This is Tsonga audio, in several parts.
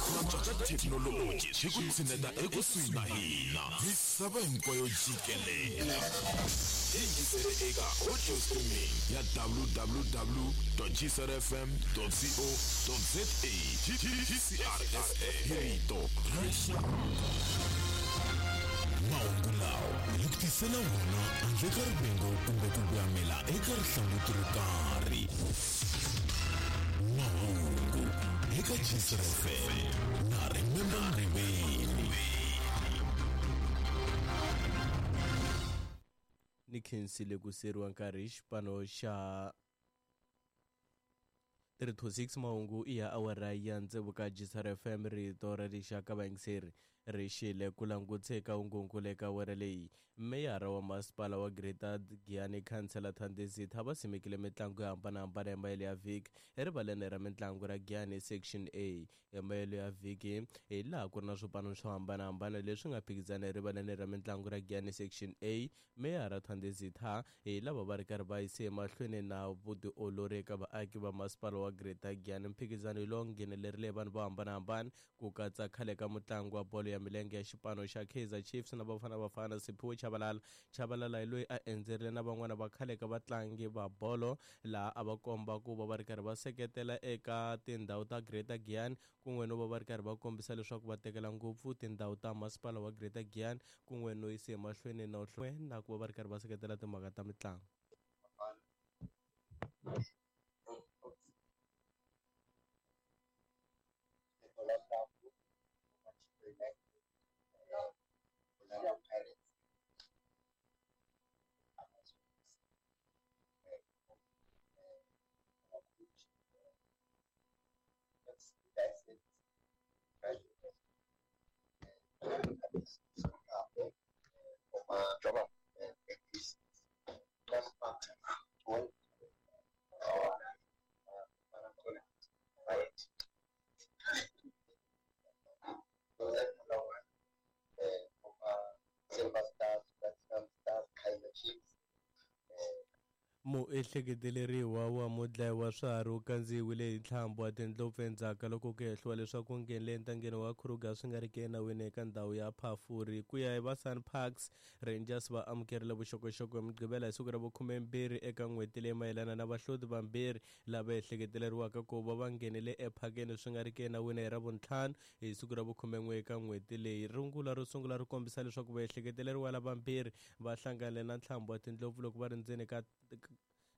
Ku cinca ka thekinoloji swi ku tshineta ekusuhi na hina misava hinkwayo jikelele. Yingisele eka audio streaming ya www.gcrfm.co.za. GCRFM hi rito ra rixaka. Mahungu lawa hi ku tisela wona handle ka rivengo kumbe ku voyamela eka rihlanguti ro karhi. Mahungu eka GCRFM na Remember Mriveni. Ni khensile ku siyeriwa nkarhi hi xipano xa 326 mahungu i ya awara ya tsevu ka GCR FM rito ra rixaka vayingiseri ri xile ku langutse eka ungunkulu eka awara leyi. Meyara wa masipala wa Greater Giyani Khansela Thandizitha va simekile mitlangu yo hambanahambana ya mayelo ya vhiki erivaleni ra mitlangu ra Giyani Section A. Ya mayelo ya vhiki hi laha ku ri na swipano swo hambanahambana leswi nga phikizana erivaleni ra mitlangu ra Giyani Section A. Meyara Thandizitha hi lava va ri karhi va yise emahlweni na vutiolori eka vaaki va masipala wa Greater Giyani. Mphikizano lowu nghenelerile vanhu vo hambanahambana ku katsa khale ka mutlangi wa bolo ya milenge ya xipano xa Kaizer Chiefs na Bafana Bafana Siphiwe Tshabalala. Tshabalala hi loyi a endzerile na van'wana va khale ka vatlangi va bolo laha a va komba ku va va ri karhi va seketela eka tindhawu ta Greater Giyani kun'we no va va ri karhi va kombisa leswaku va tekela ngopfu tindhawu ta masipala wa Greater Giyani kun'we no yisa emahlweni na na ku va va ri karhi va seketela timhaka ta mitlangu. Muehleketeleriwa wa mudlayi wa swiharhi u kandziyiwile hi ntlhambu wa tindlopfu endzhaku ka loko ku hehliwa leswaku u nghenile entangeni wa Kruger swi nga ri ki enawini eka ndhawu ya Phafuri. Ku ya hi va SANParks, Rangers va amukerile vuxokoxoko hi Mugqivela hi siku ra vu-12 eka n'hweti leyi mayelana na vahloti vambirhi lava ehleketeleriwaka ku va va nghenile ephakeni swi nga ri ki enawini hi Ravuntlhanu hi siku ra vu-11 eka n'hweti leyi. Rungula ro sungula ri kombisa leswaku vaehleketeleriwa lavambirhi va hlangane na ntlhambu wa tindlopfu loko va ri ndzeni ka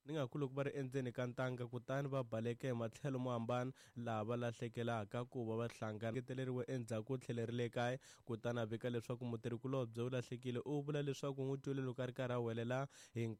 ni nga ku loko va ri endzeni ka ntanga kutani va baleka hi matlhelo mo hambana laha va lahlekelaka ku va va hlangana. Engeteleriwe endzhaku u tlhelerile ekaya kutani a vika leswaku mutirhikulobye u lahlekile. U vula leswaku u n'wi twile loko a ri karhi a huwelela hi.